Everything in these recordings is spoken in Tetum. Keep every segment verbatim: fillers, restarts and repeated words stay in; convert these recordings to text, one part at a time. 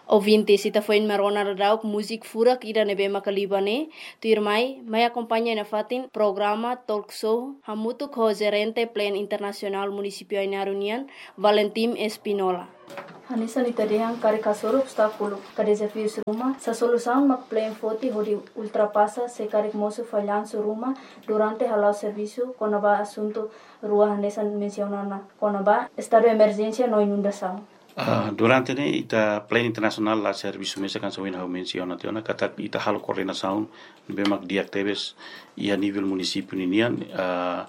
Ouvintes, ita foin mai rona dadauk múzika furak ida ne'ebé maka liba ne'e, tuirmai, mai akompaña nafatin programa talk show hamutuk ho Jerente Plan Internasionál Munisípiu Ainaro nian, Valentim Espinola. Hanesan ita dehan karik hasoru obstákulu ka dezafiu ruma, sá solusaun mak plan foti hodi ultrapasa se karik mosu fallansu ruma durante hala'o servisu kona-ba asuntu rua hanesan mensiona ona kona-ba estadu emerjénsia no inundasaun. Ah, durante ne'e ita plan internasionál la servisu mesak hanesan ohin ha'u mensiona tiha ona katak ita halo koordenasaun ne'ebé mak di'ak tebes iha nivel munisípiu ninian, ah,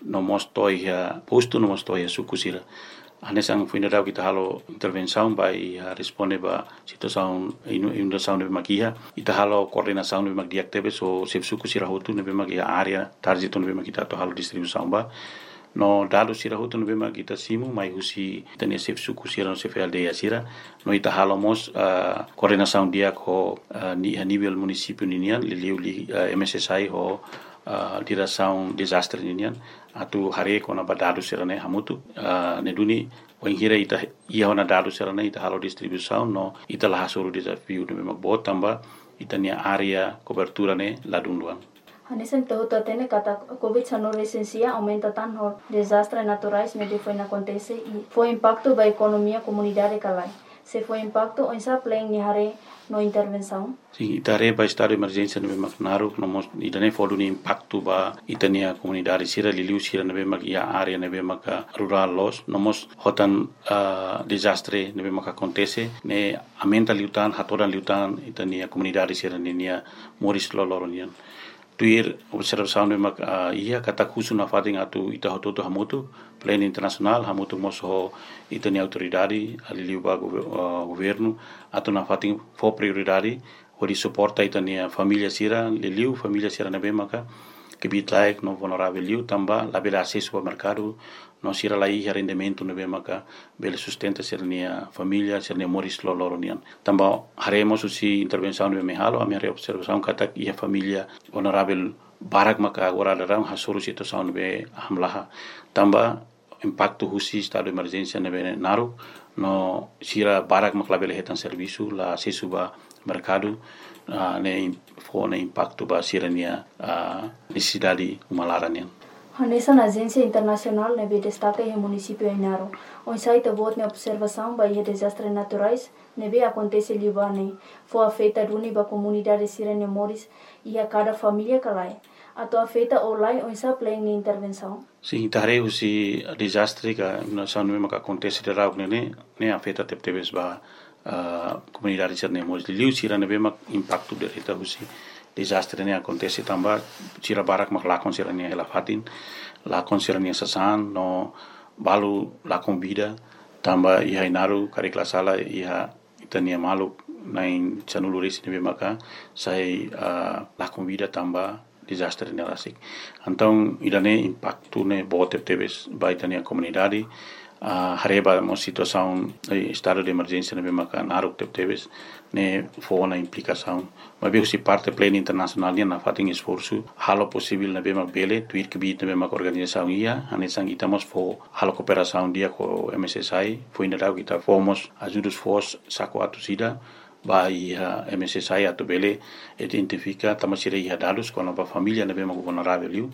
no mós to'o iha postu no mós to'o iha suku sira. Hanesan foin dadauk ita halo intervensaun ba iha responde ba situasaun inu-, inundasaun ne'ebé mak iha, ita halo koordenasaun ne'ebé mak di'ak tebes ho xefe suku sira hotu ne'ebé mak iha área target ne'ebé mak ita atu halo distribuisaun ba. No dadus sira hotu ne'ebé mak ita simu mai husi ita-nia xefe suku sira no xefe aldeia sira. No ita halo mós, ah, koordenasaun di'ak ho, ah, ni-, iha nivel munisípiu ninian, liuliu, ah, M S S I ho, ah, diresaun dezastre ninian. Atu haree kona-ba dadus sira-ne'e hamutuk, ah, ne'e duni, wainhira ita iha ona dadus sira-ne'e, ita halo distribuisaun, no ita la hasoru dezafiu ne'ebé mak boot tanba ita-nia área kobertura ne'e ladún luan. Hanesan ita hotu hatene katak covid sanulu resin sia aumenta tan ho dezastre naturais ne'ebé foin akontese i fó impaktu ba ekonomia komunidade ka lae. Se fó impaktu, oinsá plan nia haree no intervensaun? Sin, ita haree ba estadu emerjénsia ne'ebé mak naruk, no mós ida-ne'e fó duni impaktu ba ita-nia komunidade sira liuliu sira ne'ebé mak iha área ne'ebé maka rurál loos, no mós hotan, ah, dezastre ne'ebé maka akontese, ne'e aumenta liután, hatodan liután ita-nia komunidade sira ninia moris loroloron nian. Tuir observasaun ne'ebé mak, ah, iha katak husu nafatin atu ita hotu-hotu hamutuk, plan internasionál hamutuk mós ho ita-nia autoridade, ah, liuliu ba gover-, ah, governu, atu nafatin fó prioridade hodi suporta ita-nia família sira, liuliu família sira ne'ebé maka kbiit-laek no vulneravel liu tanba labele asesu ba merkadu, no sira la iha rendimentu ne'ebé maka bele sustenta sira-nia família, sira-nia moris loroloron nian. Tanba haree mós husi intervensaun ne'ebé ami halo, ami haree observasaun katak iha família vulneravel barak maka agora daudaun hasoru situasaun ne'ebé hamlaha. Tanba impaktu husi estadu emerjénsia ne'ebé naruk, no sira barak mak labele hetan servisu, la asesu ba merkadu, ah, ne'e im-, fó ne'e impaktu ba sira-nia, ah, nesesidade uma laran nian. Hanesan ajénsia internasionál ne'ebé destaka iha munisípiu Ainaro, oinsá ita-boot nia observasaun ba iha dezastre naturais ne'ebé akontese liubá ne'e, fó afeta duni ba komunidade sira-nia moris iha kada família ka lae? Atu afeta ou lae, oinsá plan nia intervensaun? Sin, ita haree husi dezastre ka inundasaun ne'ebé maka akontese daudaun ne'e, ne'e afeta tebetebes ba, ah, komunidade sira-nia moris. Liuliu sira ne'ebé mak impaktu direta husi dezastre ne'e akontese tanba sira barak mak lakon sira-nia hela-fatin, lakon sira-nia sasán, no balu lakon vida, tanba iha Ainaro karik la sala iha ita-nia maluk na'in sanulu resin ne'ebé maka sai, ah, lakon vida tanba dezastre ne'e rasik. Entaun, ida-ne'e impaktu ne'e boot tebetebes ba ita-nia komunidade, ah, haree ba mós situasaun, eh, estadu de emerjénsia ne'ebé maka naruk tebetebes, ne'e fó ona implikasaun. Maibé husi parte plan internasionál nian nafatin esforsu halo posivel ne'ebé mak bele, tuir kbiit ne'ebé mak organizasaun iha, hanesan ita mós fó halo kooperasaun di'ak ho M S S I, foin daudauk ita fó mós ajuda foos saku atus ida ba iha M S S I atu bele identifika tanba sira iha dadus kona-ba família ne'ebé mak vulneravel liu,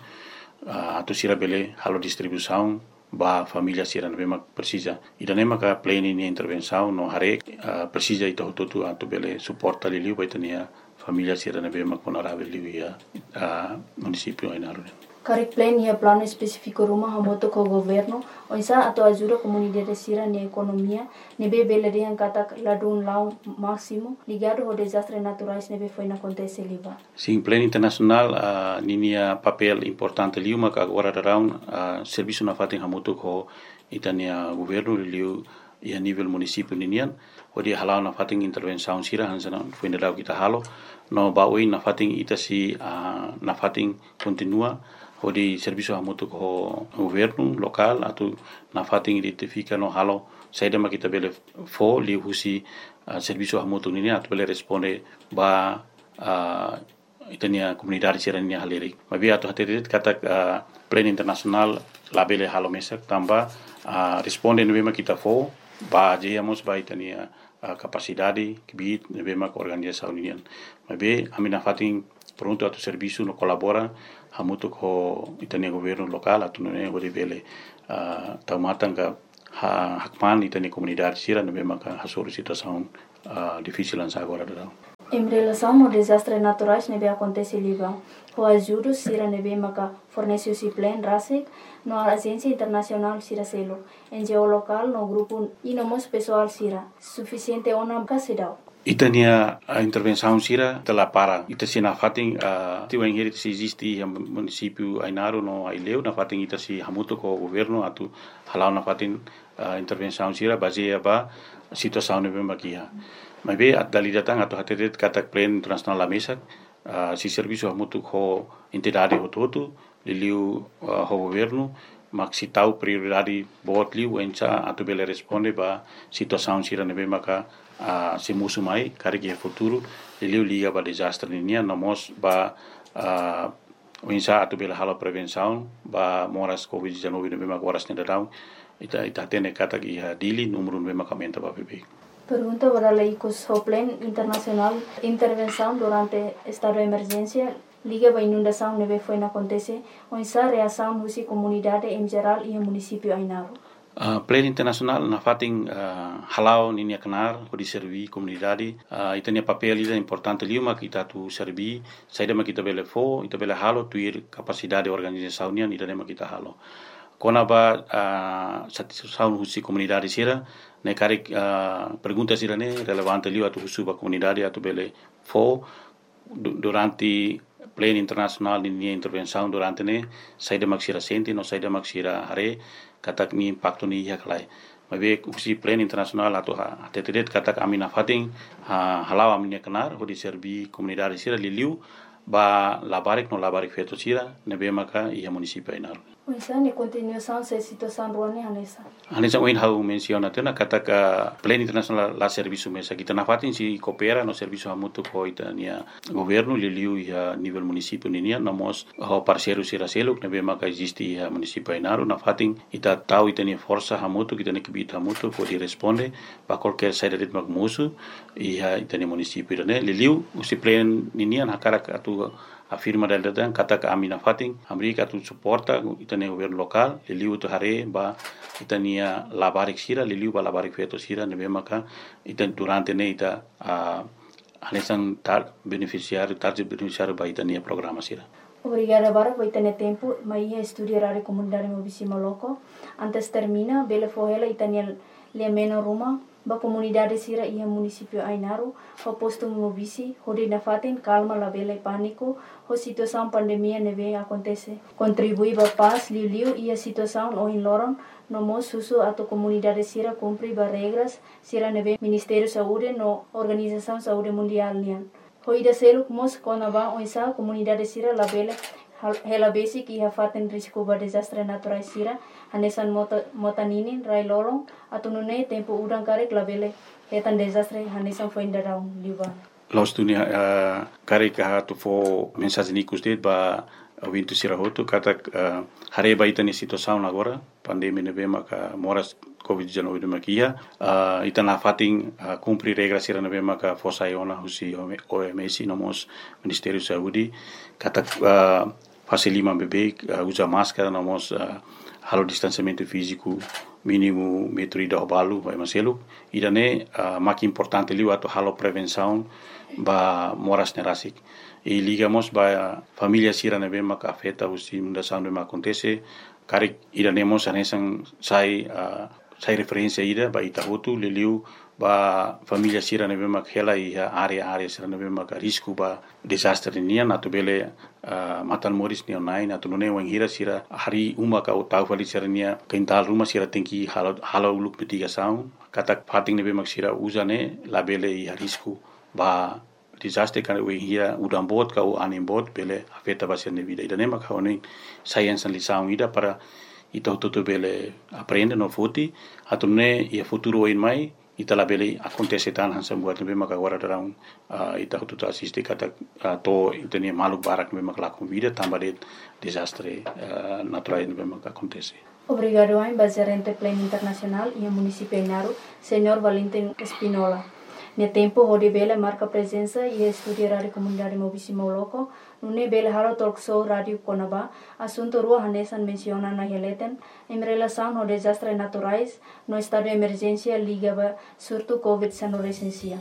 ah, atu sira bele halo distribuisaun ba família sira ne'ebé mak presiza. Ida-ne'e maka plan nia intervensaun no haree, ah, presiza ita hotu-hotu atu bele suporta liuliu ba ita-nia família sira ne'ebé mak vulneravel liu iha, ah, munisípiu Ainaro. Karik plan iha planu espesífiku ruma hamutuk ho governu, oinsá atu ajuda komunidade sira-nia ekonomia ne'ebé bele dehan katak ladún la'o másimu ligadu ho dezastre naturais ne'ebé foin akontese liubá? Sin, plan internasionál, ah, ninia papél importante liu maka agora daudaun, ah, servisu nafatin hamutuk ho ita-nia governu liuliu iha nivel munisípiu ninian, hodi hala'o nafatin intervensaun sira hanesan foin daudauk ita halo, no ba oin nafatin ita sei, ah, nafatin kontinua hodi servisu hamutuk ho governu lokál atu nafatin identifika no halo saida mak ita bele fó liuhusi, ah, servisu hamutuk ninian atu bele responde ba, ah, ita-nia komunidade sira-nia halerik. Maibé atu hatete katak, ah, plan internasionál labele halo mesak tanba, ah, responde ne'ebé mak ita fó bazeia mós ba ita-nia ah, kapasidade kbiit ne'ebé maka organizasaun nian. Maibé ami nafatin prontu atu servisu no kolabora hamutuk ho ita-nia governu lokál atu nune'e hodi bele, ah, tau matan ka ha-, hakmaan ita-nia komunidade sira ne'ebé maka hasoru situasaun, ah, difisil hanesan agora daudaun. Em relasaun ho dezastre naturais ne'ebé akontese liubá, ho ajuda sira ne'ebé maka fornese husi PLEN rasik no ajénsia internasionál sira seluk, NGO lokál no grupu i no mós pesoál sira, sufisiente ona ka seidauk? Ita-nia, ah, intervensaun sira ita la para. Ita sei nafatin, ah, ti wainhira sei eziste iha munisípiu Ainaro no Aileu, nafatin ita sei hamutuk ho governu atu hala'o nafatin, ah, intervensaun sira bazeia ba situasaun ne'ebé maka iha. Maibé atu dala ida tan atu hatete katak PLEN internasionál la mesak, ah, sei servisu hamutuk ho entidade hotu-hotu, liuliu, ah, ho governu, mak sei tau prioridade boot liu oinsá atu bele responde ba situasaun sira ne'ebé maka, ah, sei mosu mai karik iha futuru, liuliu liga ba dezastre ninian, no mós ba, ah, oinsá atu bele halo prevensaun ba moras COVID dezanove ne'ebé maka oras ne'e daudaun ita, ita hatene katak iha Dili númeru ne'ebé maka aumenta ba beibeik. Pergunta ba dala ikus: ho PLEN internasionál intervensaun durante estadu emerjénsia liga ba inundasaun ne'ebé foin akontese, oinsá reasaun husi komunidade em jerál iha munisípiu Ainaro? Ah, PLEN internasionál nafatin, ah, hala'o ninia knaar hodi serví komunidade. Ah, ita-nia papél ida importante liu mak ita atu serví, saida mak ita bele fó, ita bele halo tuir kapasidade organizasaun nian, ida-ne'e mak ita halo. Kona-ba, ah, satisfasaun husi komunidade sira, ne'e karik, ah, pergunta sira-ne'e relevante liu atu husu ba komunidade atu bele fó du-, durante PLEN internasionál ninia intervensaun durante ne'e, saida mak sira sente no saida mak sira haree katak nia impaktu ne'e iha ka lae. Maibé husi PLEN internasionál atu ha-, hatete de'it katak ami nafatin, ha-, hala'o ami-nia knaar hodi serví komunidade sira, liuliu ba labarik no labarik feto sira ne'ebé maka iha munisípiu Ainaro. Oinsá nia kontinuasaun se situasaun rua ne'e hanesan? Hanesan ohin ha'u mensiona tiha ona katak PLEN internasionál la servisu mesak, ita nafatin sei koopera no servisu hamutuk ho ita-nia governu, liuliu iha nivel munisípiu ninian, no mós ho parseiru sira seluk ne'ebé maka eziste iha munisípiu Ainaro, nafatin ita tau ita-nia forsa hamutuk, ita-nia kbiit hamutuk hodi responde ba kualkér saida de'it mak mosu iha ita-nia munisípiu ida-ne'e. Liuliu husi PLEN ninian hakarak atu afirma dala ida tan katak ami nafatin hamriik atu suporta ita-nia governu lokál, liuliu atu haree ba ita-nia labarik sira, liuliu ba labarik feto sira ne'ebé maka ita durante ne'e ita, ah, hanesan tar-, benefisiáriu, target benefisiáriu ba ita-nia programa sira. Obrigada barak ba ita-nia tempu mai iha estúdiu Rádiu Komunidade Maubisse Maloko. Antes termina, bele fó hela ita-nia lia-menon ruma ba komunidade sira iha munisípiu Ainaro ho postu Maubisse, hodi nafatin kalma, labele pániku ho situasaun pandemia ne'ebé akontese. Kontribui ba pás liuliu iha situasaun ohin loron, no mós husu atu komunidade sira kumpre ba regras sira ne'ebé Ministériu Saúde no Organizasaun Saúde Mundiál nian. Ho ida seluk mós kona-ba oinsá komunidade sira labele hal-, hela besik iha fatin risku ba dezastre naturais sira, hanesan mota, mota ninin, rai-lolon, atu nune'e tempu udan karik labele hetan dezastre hanesan foin daudaun liubá. Loos duni, eh, karik atu fó mensajen ikus de'it ba ouvinte sira hotu katak, eh, haree ba ita-nia situasaun agora, pandemia ne'ebé maka moras COVID dezanove ne'ebé maka iha, ah, ita nafatin, ah, kumpre regra sira ne'ebé maka fó sai ona husi O M S no mós Ministériu Saúde, katak, ah, fase liman beibeik, ah, uza máskara no mós, ah, halo distansiamentu fíziku mínimu metru ida ho balu ba ema seluk. Ida-ne'e, ah, mak importante liu atu halo prevensaun ba moras ne'e rasik. I liga mós ba família sira ne'ebé maka afeta husi inundasaun ne'ebé maka akontese, karik ida-ne'e mós hanesan sai, ah, sai referénsia ida ba ita hotu, liuliu ba família sira ne'ebé maka hela iha área-área sira ne'ebé maka risku ba dezastre nian, atu bele, ah, matan moris nia na'in, atu nune'e wainhira sira harii uma ka tau fali sira-nia kintál ruma, sira tenke halo, halo uluk mitigasaun katak fatin ne'ebé maka sira uza ne'e labele iha risku ba dezastre, karena wainhira udan boot ka anin boot bele afeta ba sira-nia vida. Ida-ne'e maka ha'u hanoin sai hanesan lisaun ida para ita hotu-hotu bele aprende no foti, atu nune'e iha futuru oin mai ita labele akontese tan hanesan buat ne'ebé maka agora daudaun, ah, ita hotu-hotu asiste katak, ah, to'o ita-nia maluk barak ne'ebé maka lakon vida tanba de'it dezastre, ah, naturais ne'ebé maka akontese. Obrigadu ain ba Jerente Plan Internasionál iha Munisípiu Ainaro, Señór Valentin Espinola, nia tempu hodi bele marka prezensa iha estúdiu Rádiu Komunidade Maubisse Mauloko, nune'e bele halo talk show rádiu kona-ba asuntu rua hanesan mensiona ona iha leten, em relasaun ho dezastre naturais no estadu emerjénsia liga ba surtu COVID dezenove resensia.